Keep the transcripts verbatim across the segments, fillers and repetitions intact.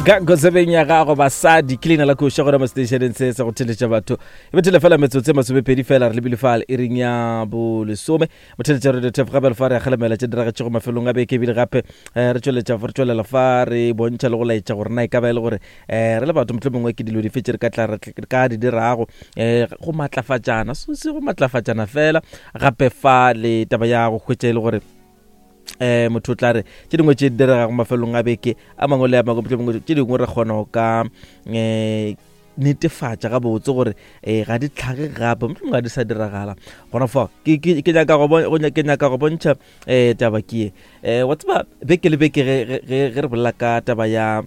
Gago tsebeng ya gago basadi ke leina la koša gona mo stationeng se sa go theletša batho e bethele fela metsotso e masomepedi fela re lebile fale e reng ya bolesome motheletša radio tef gape fa re kgalemela tše diragetšego mafelong a beke ebile gape eh, re tšweletša re tšwelela fa re bontšha le go laetša gore na e ka ba e le gore um re le batho motlho mongwe ke dilo dife tše re ka tla re ka di dirago um go matlafatšana se se go matlafatšana fela gape fa le taba ya go hwetša e le gore um motho o tla re tše dingwe tše di diregago mafelong a beke a mangwe le a mangwe mohlomongwe tše dingwe re kgona go ka um netefatša gabotse gore um ga di tlhage gape mohlomongwe ga di sa diragala gona fao ke ke- ke nyaka go bon- go nya- ke nyaka go bontšha um taba ke ye um wa tseba beke le beke ge ge- ge ge re bolela ka taba ya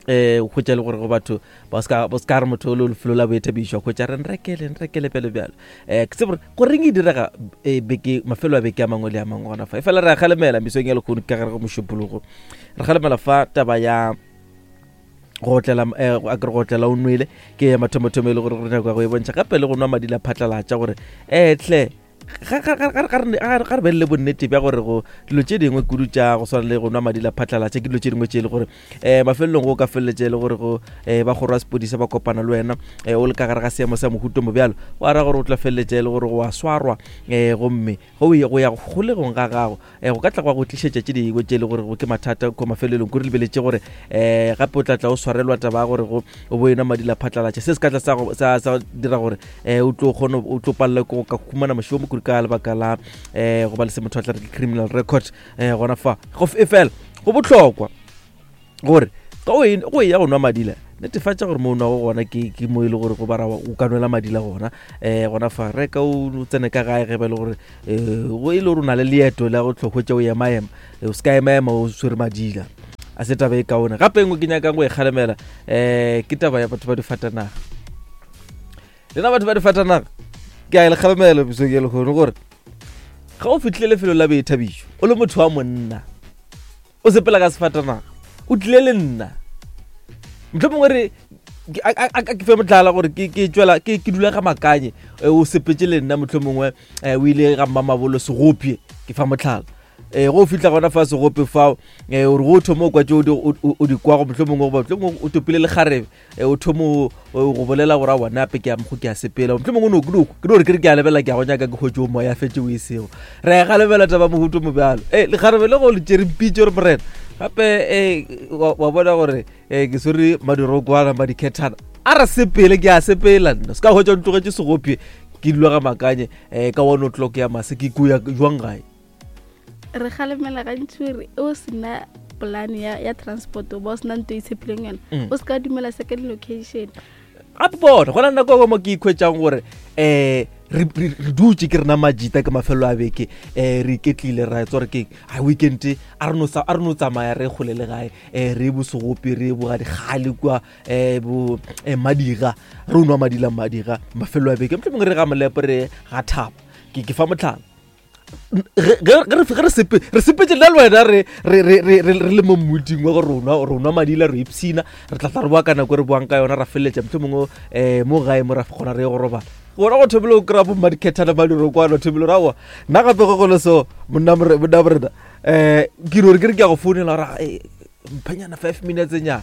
um hwetša le gore go batho ba ska ba ska re motho o le lefelo la boithabišo hwetša re nrekele nrekele pele bjalo um ke tsebe gore goreng e direga eh, beke mafelo a beke a mangwe le a mangwe gona fa e fela re a kgalemela mesong ya lekgono ka gare go mošupologo re kgalemela fa taba ya go otlela eh, a kere go otlela o nwele ke ya mathomothomo e le gore re nyaka go e bontšha gape le go nwa madi la phatlalatša gore um tle ga ga- ga- ga- ga re ga re- ga re be le bonnete bja gore go dilo tše dingwe kudu tša go swana le go nwa madi la phatlalatša ke dilo tše dingwe tše e le gore um mafelelong go ka feleletša e le gore go um ba kgoro ya sepodisa ba kopana le wena um o le ka gare ga seemo sa mohuto mo bjalo go ara gore o tla feleletša e le gore go a swarwa um gomme go ya go ya kgolegong ga gago um go ka tla gwa go tlišetša tše dingwe tše e le gore go ke mathata ko mafelelong ko re lebeletše gore um gape o tla tla o swarelwa taba ya gore go o bo enwa madi la phatlalatša se se ka tla sa go- sa sa dira gore um o tlo kgone o tlo palela ke go ka humana mošomo kudu ka lebaka la um go ba le se motho a tla re ke criminal record um gona fa go e fela go bohlokwa gore ka o e- go ya go nwa madila netefatša gore mo o nwago gona ke ke mo e le gore go bara o ka nwela madila gona um gona fa reka o o tsene ka gae ge ba e le gore um go e le gore o na le leeto la go tlo hwetša o emaema o se ka emaema o swere madila a se taba e kaone gape engwe ke nyakang go e kgalemela um ke taba ya batho ba difatanaga lena batho ba difatanaga ke a e le kgalemela mesong ya lekgono gore ga o fitlhile lefelo la boithabišo o le motho wa monna o sepela ka sefatanaga o tlile le nna motlho mongwe re ke- a- a- a ke fe motlhala gore ke ke tswela ke ke dula ga makanye eh, o sepetse le nna motlho mongwe eh, o ile ga mmamabolo segopye ke fa motlhala um go o fitlha gona fa segope fao um ore go o thoma o kwa tse o di- o o- o di kwago motlho mongwe goba motlho mongwe o topile lekgarebe um o thoma o- o go bolela gore a bona ape ke a mokgo ke a sepela motlho mongwe o no- ke no ke no re ke re ke a lebelela ke a go nyaka ke kgwetse o moya fetse o e sego re a galemela taba mohuto mo bjalo e lekgarebe le go le tšere mpitse gore morena gape um wa wa bona gore um ke swere madirokwana madikhethana a re sepele ke a sepela nna se ka hwetša o ntlogetse segopye ke dula ga makanye um ka one o'clock ya mase ke kuya jwang gae re kgalemela gantši gore o sena polane ya, ya transport o ba o sena nto e tshepileng yona Mm. o se ka dumela second location gape bona go na le nako e mo ke ikhwetšang gore um re re- re dutse ke rena majita ke mafelo a beke um re iketlile ra tsa gore keng a weekend a re no sa- a re no tsamaya re kgole le gae um re ye bosegope re ye bogadikgale kua um bo eh, madira re o nwa madila madira mafelo a beke motlho mongwe re ga molepo re ga thaba ke ke fa motlhala ge ge- ge re ge re sepe re sepetse nna le wena re re re re re re le mo mmuding wa gore rona rona madila re ipshina re tla tla re boa ka nako e re boang ka yona ra feleletša motlho mongwe um mo gae mo ra kgona re ye go robala gona go thomile go kry-a bo mmadikgethana madirokwana thomile gore aowa nna gape go gole so monna more- monna morena um ke no re ke re ke ya go founela gore "Eh, mphanyana five minutes nyana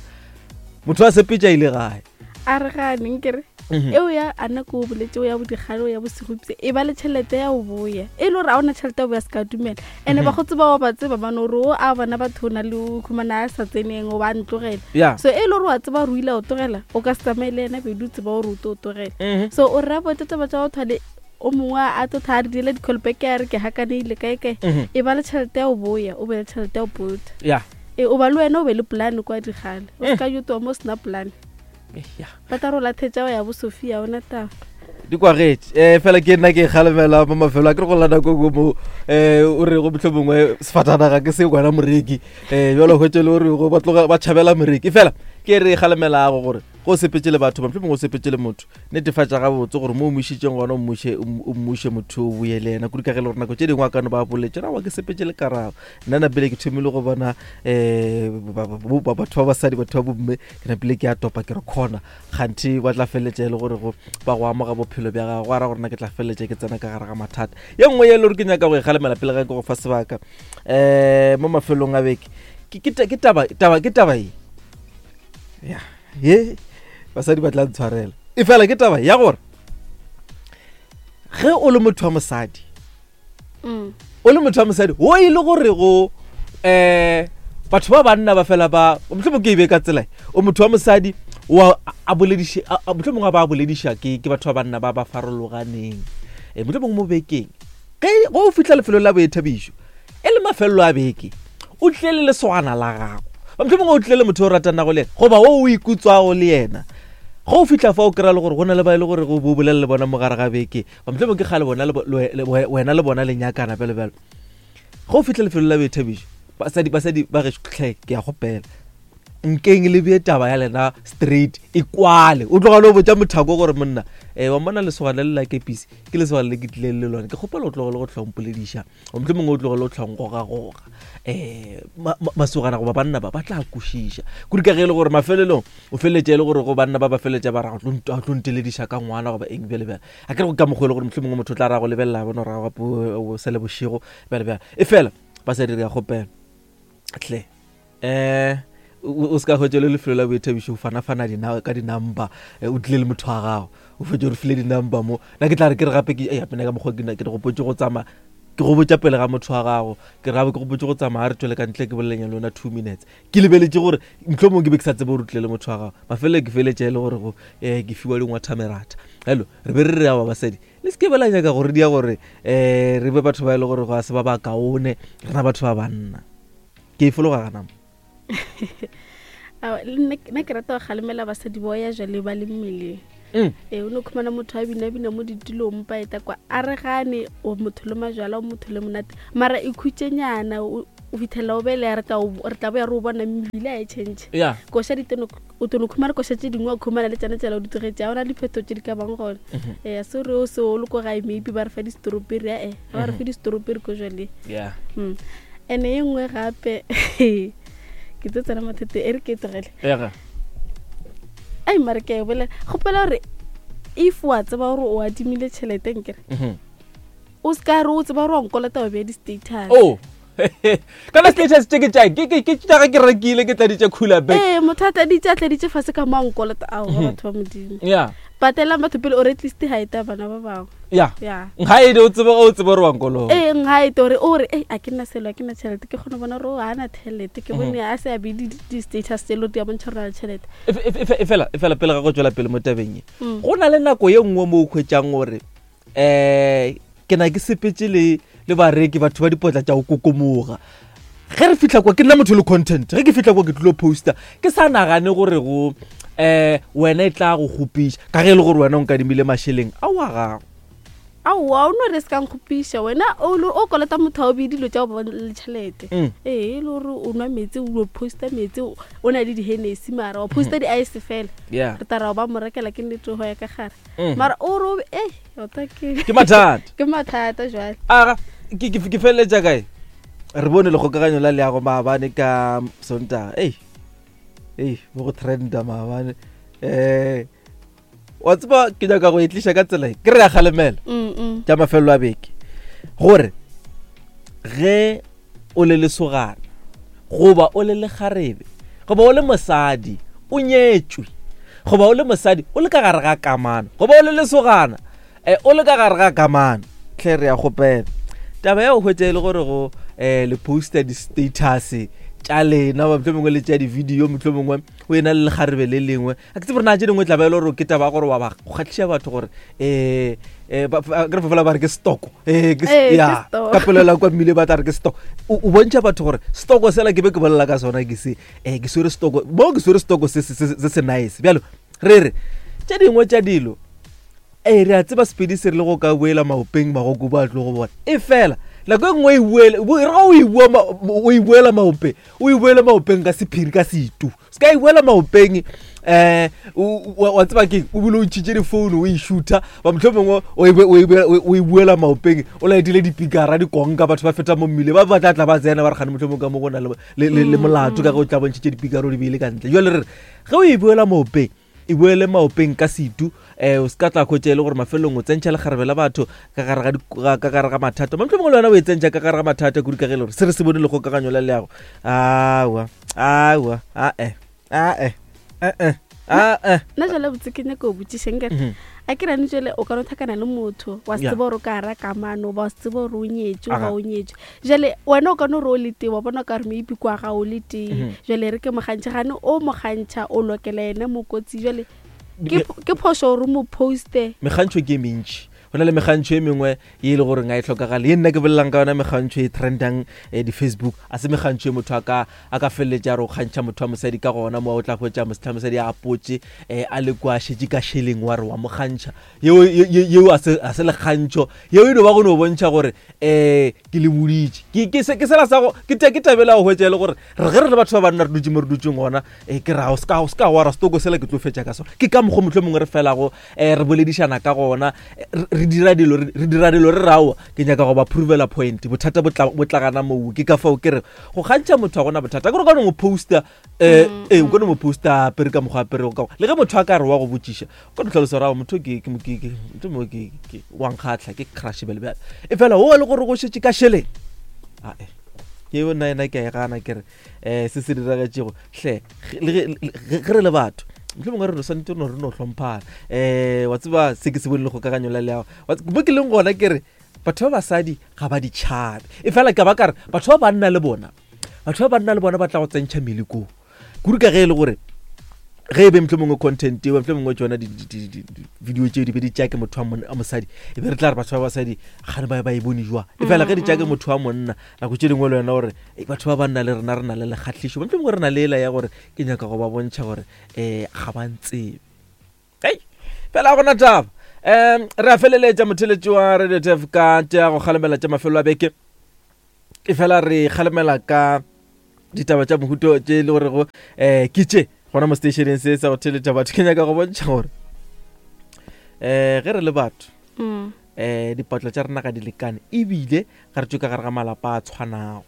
motho a sepetša ile gae a re ganeng kere Mhm. eo ya a nako o boletse o ya bodigale o ya bosegopse e ba le tšhelete ya go boya e le gore a ona tšhelete ya go boya se ka dumela and-e Mhm. ba go tseba wa ba tseba bane gore o a bona batho o na le o khumana a sa tseneng o ba ntlogela ya so e le gore wa tseba gore o ile o tlogela o ka se tsamaye le ena bedi o tseba gore o tlo o tlogela Mhm. so o rra bote taba tša go thwale o mongwe a tlo tha a re diela di-callback a re ke hakaneile kae kae Mhm. e ba le tšhelete ya go boya o be le tšhelete ya go pota ya e o ba le wena o be le polane kwa digale o Mm. se ka yotoa mo o sena polane Eh, ya ba tla re o lathetša wa ya bo sophia ona taba di kwagetše um fela ke nna ke kgalemela mo mafelo a ke re go lla nako nngwe mo um o re go motlho mongwe sefatanaga ke se kwana moreki um jalo hwetše le gore go ba tloga ba tšhabela moreki fela ke re kgalemelago gore go sepetse le batho ba motlho mongwe o sepetse le motho netefatša gabotse gore mo o mošitseng gona o mmuše o mmuše motho o boye le ena kudu ka ge le gore nako tše dingwe a kano ba boletse rawa ke sepetse le karabo nna napele ke thomile go bona um batho ba basadi batho ba bomme ke napile ke a topa ke re khona kganthe ba tla feleletša e le gore go ba go amoga bophelo bja gago go ara gore na ke tla feleletša ke tsena ka gare ga mathata ye nngwe ye e le gore ke nyaka go e kgalemela pele ga ke go fa sebaka um mo mafelong a beke ke- ke ta- ke taba taba- ke taba e Ya ye basadi ba tla ntshwarela. E fela ke taba ya gore ge o le motho wa mosadi, Mm. o le motho wa mosadi o e le gore go um batho ba banna ba fela ba mohlomong ke e be ka tsela e, o motho wa mosadi wa a bolediše a- a- mohlomongwe a ba a bolediša ke ke batho ba banna ba ba farologaneng. Um mohlomongwe mo bekeng ge go o fitlha lefelong la boithabišo e le mafelelo a beke, o tlile le lesogana la gago, ba mohlomongwe o tlile le motho o ratanago le yena goba o o ikutswago le yena. Ge o fitlha fa o kry-a le gore go na le ba e le gore go bo bolela le bona mo gare ga beke, ba mohlomongwe ke kgale bona le bo- le- le- wena le bona le nyakana bjalo bjalo. Ge o fitlha lefelong la boithabišo, basadi basadi ba gešo tlhe ke ya gopela nkeng le bee taba ya lena straight e kwale. O tloga le o botša mothako gore monna um wa mmona lesogana le la kepisi ke lesogana le ke tlileng le lone, ke kgopela o tlogele go tlhompolediša, mohlomongwe o tlogele go tlhongogagoga. Um masogana goba banna ba ba tla kwešiša kudu ka ge e le gore mafelelong o feleletša e le gore go banna ba ba feleletša ba ra go tlo tlo ntelediša ka ngwana goba eng bjale bjale. A ke re go ka mokgwa e le gore mohlomongwe motho o tla ra go lebelela bona gore gape o sele bošego bjale bjale. E fela basadi re ya kgopela tle um o se ka hwetša le lefelo la boithabišo o fana-fana dina ka di-number, eh, o tlile le motho wa gago o fetše o re file di-number mo. Nna ke tla re ke re gape ke gape nna ka mokgwa ke na- ke re gopotse go tsamaya ke go botša pele ga motho wa gago, ke re gape ke gopotse go tsamaya a re tswele ka ntle ke bolelenya le yona two minutes, ke lebeletše gore mohlomongwe ke be ke sa tsebe gore o tlile le motho wa gago. Mafelelo ke feletša e le gore go um ke fiwa dingwathamerata. Hello, re be re re awa basadi le se ke be la nyaka gore dia gore um re be batho ba e le gore go a se ba ba kaone rena batho ba banna. Ke e fologa gana mo. Aowa, le nna nna ke rata go kgalemela basadi bao ya jale ba le mmeleng. Mm. Ee, o no khumana motho a bina-bina mo ditulong pa eta kwa a re gane o motho le majwala o motho le monate, mara e khutšenyana o o fitlhela o bele re tla o- re tla boya re o bona mebile a e change. Ya. Koša di teno o tono khumana koša tše dingwe wa khumana le tsena tsela o di tlogetse, ga ona diphetho tše di ka bang gona. Ee, a se re o se o le ko gae maybe ba re fa di-strawberry, ae ga ba re fe di-strawberry ko jwaleng. Yeah. Mm. And e nngwe gape ke tlo tsena mathete e re ke e tlogele. Ega. Ai mare ke a e bolela kgopela gore if wa tseba gore o adimile tšhelete nkere Mhm. o se ka re o tseba gore wa nkolota wa beya di-status. Oh. Kana status tše ke tša ke ke ke tša ge ke rekile ke tladitše cooler bag. Ee, motho a tladitše a tladitše fase ka mo a nkolota ao ga batho ba modimo. Yeah. Patelang batho pele or at least ga eta bana ba bangwe. Yeah. Ya. Nhaide o tsebe o tsebe gore wa nkologa. Ee, nhaete ore o re ei a ke nna selo a ke nna tšhelete ke kgone go bona gore o ga na tšhelete ke bone a se a bee di- di-status tse le di a bontšha gore na le tšhelete. E fe- e fe- e fela e fela pele ga go tswela pele mo tabeng e. Mm. Go na le nako ye nngwe mo o hwetšang gore eh ke na ke sepetse le le bareki batho ba dipotla tša go kokomoga. Ge re fihla kwa ke nna motho le content, ge ke fihla kwa ke tlilo poster ke sa nagane gore go eh wena e tla go kgopiša ka ge e le gore wena o nkadimile mašeleng a wa gago. Aowa o no re se ka nkgopiša wena o le- o kolota motho a o bee dilo tša go ba le tšhelete. Mm. Ee, e le gore o nwa metsi o posta metsi o o na le di-Hennessy mara wa posta di-ice fela. Yeah. Re tla ra ba mo rekela ke nnete go ya ka gare. Mhm. Mara o re o be- ei tota ke Ke mathata. ke mathata jwale. Aga ke ke ke feleletša kae? Re bone lekgokaganyo la leago maabane ka Sontaga. Ei. Ei, mo go trenda maabane. Eh wa tseba ke nyaka go e tliša ka tsela e. Ke re ya kgalemela Mm, mm. tša mafelelo a beke gore ge o le lesogana goba o le lekgarebe goba o le mosadi o nyetšwe goba o le mosadi o le ka gare ga kamano goba o le lesogana eh, o le ka gare ga kamano tlhe re ya kgopela taba ya go hwetša e le gore go um le poster di-status tša lena ba mohlomongwe le tša di-video mohlomongwe o ena le lekgarebe le lengwe a ke tsebe gore na tše dingwe tla ba e le gore ke taba ya gore wa ba kgatlhiša batho gore um ke re fela ba re ke stoko Eh, ke s- Ee, ke ya, stock. ka pelo kwa mmile ba tla re ke stock o o bontšha batho gore stoko sela ke be ke bolela ka sona ke se um ke swere stoko mo ke swere stoko se se- se se se nice bjalo re re tše dingwe tša dilo ee re a tseba sepedi se re le go ka boela maopeng magokobu a tlo go bona e fela nako e nngwe e boele bo- e re ga o e bua ma- o e boela maopeng o e boele maopeng ka sephiri ka setu se ka e boela maopeng um wa tseba keng o bile o ntšhitše difounu o e shoota ba mohlomongwe o e bo- o e boela- o e boela maopeng o laetile dipikara dikonka batho ba feta mo mmile ba ba tla tla ba tsena ba re gane mohlomongwe ka mo go na le le- le le molato ka ge o tla bontšhitše dipikara o di beile ka ntle jale re re ge o e boela maopeng e boele maopeng ka setu um o se ka tla khwetša e le gore mafelelong o tsentšha lekgarebe la batho ka gare ga di- ga- ka gare ga mathata mohlomongwe le wena o e tsentšha ka gare ga mathata kudu ka ge e le gore se re se bone lekgokaganyo la leago aowa aowa ae ae eh eh ah eh Nna jale botse ke nyaka o botšišeng kere Mhm. a ke rane jale o ka no tlhakana le motho wa se Yeah. tseba gore o ka ra kamano ba wa se tseba gore o nyetswe Aga. goba o nyetswe jale wena o ka no re o le tee wa bona o ka re maybe kwa ga o le tee Mhm. jale re ke mogantšha gane o mogantšha o lokela yena mokotsi jale ke ke phošo gore o mo poste Mekgantšho ke e mentši. Go na le mekgantšho e mengwe ye e le goreng ga e tlhokagale, ye nna ke bolelang ka yona mekgantšho e trendang eh, di-Facebook, a se mekgantšho e motho a ka a ka feleletša re o kgantšha motho wa mosadi ka gona mo o tla hwetša motho wa mosadi a apotše um a le kwa šetše ka šeleng wa re wa mo kgantšha. Yeo ye- ye- yeo a se a se lekgantšho, yeo e no ba go no bontšha gore um ke le boditše. Ke ke se- ke sela sa go ke ta- ke tabela go hwetša e le gore re ge re le batho ba banna re dutše mo re dutseng gona um ke ra o ska o ska wa ra stoko sela ke tlo fetša ka sona. Ke ka mokgwa motlho mongwe re felago um re boledišana ka gona, eh, re re dira dilo re re dira dilo re raowa ke nyaka go ba provela point. Bothata bo tla bo tlagana moo. Ke ka fao ke re go kgantšha motho ga gona bothata. Ke gore o ka no mo poster um ee o ka no mo poster a apere ka mokgwa a aperego ka gona. Le ge motho a ka re wa go botšiša, o ka no tlhalosa gore ao motho ke ke ke ke motho mo ke ke wa nkgatlha, ke crush bjale bjale. E fela o le gore go šetše ka šeleng, ae ke nna ena ke a e gana. Ke re um se se diragetšego hle ge- le ge ge- ge re le batho mohlomongwe re no swanetše no re no hlomphana. Um wa tseba se ke se bone le kgokaganyo la leago. Wa tse- mo ke leng gona ke re batho ba basadi ga ba di tšhabe, e fela ka ba ka re batho ba banna le bona, batho ba banna le bona ba tla go tsentšha melekong kudu ka ge e le gore ge e be mohlomongwe content eo mohlomongwe tšona di-video tšeo di be di tšea ke motho wa mon- wa mosadi, e be re tla re batho ba basadi gane ba ba e bone jwang. E fela ge di tšea ke motho wa monna, nako tše dingwe le wena gore "Ei, batho ba banna le rena re na le lekgahlišo, mohlomongwe re na le ela ya gore ke nyaka go ba bontšha gore um ga ba ntsebe. Hei, fela ga gona taba. Um re a feleletša motheletši wa Radio T F ka tša go kgalemela tša mafelo a beke, e fela re kgalemela ka ditaba tša mohuto tše e le gorego um ke tše gona mo stationeng se sa go theletša batho. Ke nyaka go bontšha gore um ge re le batho Mm. um dipatlo tša rena ga di lekane, ebile ga re tšwe ka gare ga malapa a tshwanago.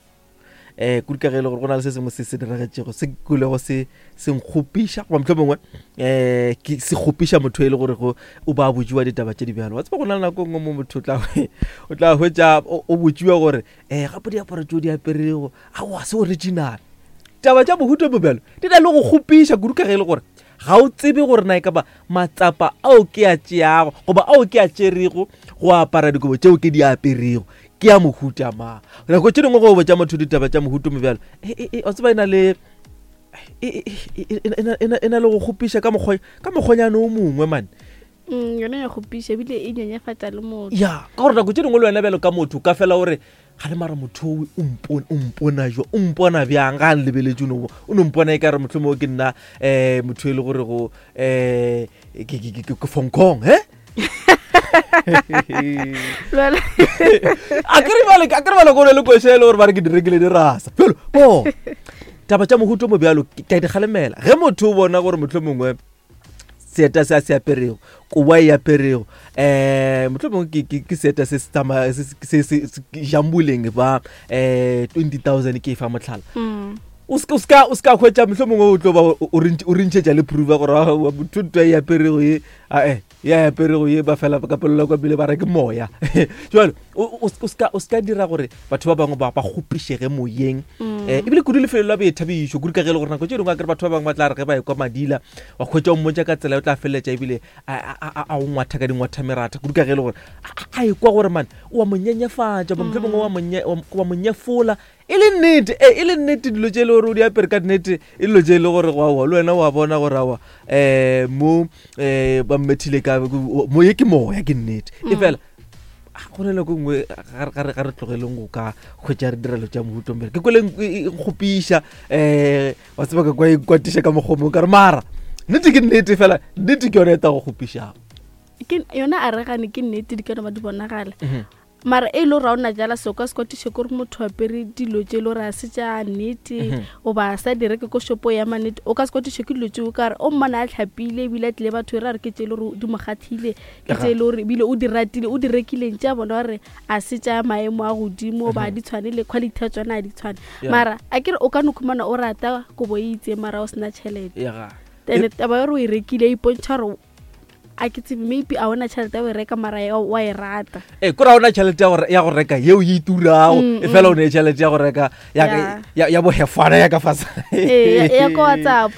Um kudu ka ge e le gore go na le se sengwe se se diragetšego se kulego se se nkgopiša, goba mohlomongwe um ke se kgopiša motho e le gore go o ba botsiwa ditaba tše di bjalo. Wa tseba go na le nako e nngwe mo motho o tla o tla hwetša o o botsiwa gore um gape diaparo tšeo di aperego aowa se original. Taba tša mohuta mo bjalo di na le go kgopiša kudu ka ge e le gore ga o tsebe gore na e ka ba matsapa ao ke a tšeago goba ao ke a tšerego go apara dikobo tšeo ke di aperego ke a mohuta mang. Nako tše dingwe go botša motho ditaba tša mohuta mo bjalo e, e, e, wa tseba e na le e, e, e, e, e, e na- e na le go kgopiša ka mokgwa ka mokgwanyane o mongwe mane. Mm, yona ya kgopiša ebile e nyenyefatša le motho. Ya, ka gore nako tše dingwe le wena bjalo ka motho o ka fela gore ga le mara motho o o mpone o mpona jwa o mpona bjang ga a nlebeletše, o no o no mpona e ka re mohlomongwe ke nna um motho e le gore go um ke ke- ke- ke Hong Kong he. Lwela- A ke re bale a ke re bale ko le koša e le gore ba re ke di rekile di rasa bjalo bo. Taba tša mohuto mo bjalo ke ke a di kgalemela. Ge motho o bona gore mohlomongwe seeta se a se aperego, kobo a e aperego, um mohlomongwe ke- ke ke seeta se se tsamaya se se se se jamboleng ba um twenty thousand ke e fa motlhala, Mm. o ska o ska o ska hwetša mohlomongwe o tlo ba o- o rentš- o rentšhetša le proof gore ah, wa motho ntho a e aperego ye ae ya aperego ye ba fela ka pelo la kwa pele ba re ke moya. Jwale o o- o ska o ska dira gore batho ba bangwe ba ba kgopišege moyeng. Mm. Eh, ebile kudu lefelo la boithabišo, kudu ka ge e le gore nako tše dingwe a kere batho ba bangwe ba tla re ge ba ekwa madila wa kgwetša o mmotša ka tsela e o tla feleletša ebile a a- a a o ngwatha ka dingwathameratha, kudu ka ge e le gore a a- a ekwa gore mane o wa mo nyenyefatša, goba mohlomongwe wa mo nye- wa wa mo nyefola e le nnete e e le nnete dilo tše e le gore o di apere ka nnete e dilo tše e le gore aowa le wena wa bona gore aowa um mo um ba mmethile ka mo ye ke moya ke nnete. E fela go na le nako e nngwe ga re- ga re ga re tlogeleng go ka hwetša re direlo tša mohuto mbele ke kwele e nkgopiša um wa tseba ka kwa e kwatiša ka mokgwa o mongwe ka re mara nnete ke nnete fela nnete ke yone e ta go kgopišago. Ke yona a re gane ke nnete di ka no ba di bonagala, mara e le gore ga o na jala se o ka se kwatiše kore motho apere dilo tše e le gore a se tša nnete goba a sa di reke ko shopo ya mannete. O ka se kwatiše ke dilo tšeo ka re o mmona a tlhapile ebile a tlile batho e re a re ke tše e le gore di mo kgathile, ke tše e le gore ebile o di ratile o di rekileng tše a bona gore a se tša maemo a godimo goba a di tshwane le quality ya tsona a di tshwane. Yeah. Mara a kere o ka no khumana o rata kobo e itseng mara o sena tšhelete, ya ga then taba ya gore o e rekile e ipontšha gore a ke tsebe maybe a ona tšhelete ya go e reka mara ya- wa e rata. E kore ga ona tšhelete ya go re- ya go reka yeo e turago, Mm, e fela o ne tšhelete ya go reka ya Yeah. ya- ya bohefana ya ka fase. Ee, ya- ya ko WhatsApp.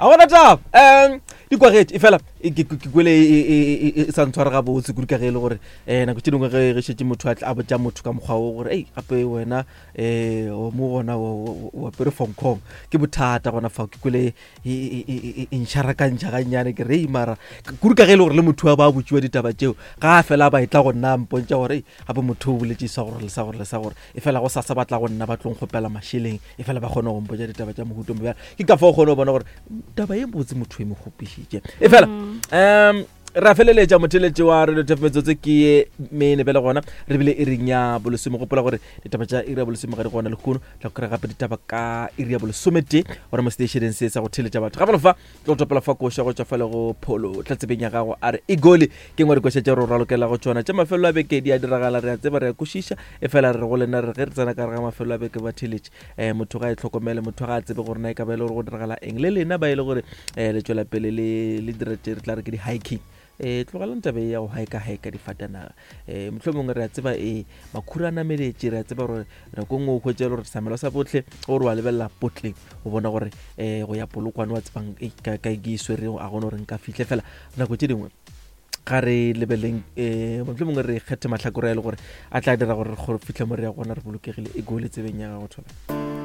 A gona taba um di kwagetše e fela e- ke ke kwele e- e- e- e sa ntshware gabotse kudu ka ge e le gore um nako tše dingwe ge ge šetše motho a tla- a botša motho ka mokgwa o gore ei gape wena um mo gona o o apere fonkong ke bothata gona fao. Ke kwele e- e- e e- e nšharakantšha gannyane, ke re "Ei, mara kudu ka ge e le gore le motho wa ba botsiwa ditaba tšeo ga a fela ba e tla go nna a mpontša gore "Ei, gape motho o boletse sa gore le sa gore le sa gore e fela go sasa ba tla go nna ba tlong kgopela mašeleng e fela ba kgone go mpotša ditaba tša mohuto mo bjalo." Ke ka fao o kgone go bona gore taba ye botse motho e mo kgopišitše e fela. um re a feleletša motheletše wa Radio Tf, metsotso ke ye mene bele gona re bile iring ya bolesome. Gopola gore ditaba tša iri ya bolesome ga di gona lehono, tla go kry gape ditaba ka iri ya bolesometee gona mo stationeng se sa go theletša batho. Gape lefa tlo go topela fa koša go tšwa fa le go pholo tla tsebeng ya gago, a re egoli ke ngwe dikoša tša re ralokela go tšona tša mafelelo a beke. Di a diragala, re a tseba, re a kwešiša, e fela re go lena re ge re tsena ka re ga mafelelo a beke ba theletše um motho ga e tlhokomele, motho ga a tsebe gore na e ka ba e le gore go diragala eng le lena ba e le gore um le tšwela pele le le dira tše re tla re ke di-hiking. um tlogelang tabe ya go haeka-haeka difatanaga. um mohlho mongwe re a tseba e makhura a nameletše, re a tseba gore nako e nngwe o hwetša e le gore samelo sa botlhe gore wa lebelela potleng o bona gore um go ya Polokwane wa tsebang ei, ka ka ke e swerego a gone gore nka fihle fela. Nako tše dingwe ga re lebeleng um mohlho mongwe re kgethe mahlakore a e le gore a tla dira gore re kgone fitlhe mo re ya gona re bolokegile. E gole tsebeng ya gago thola.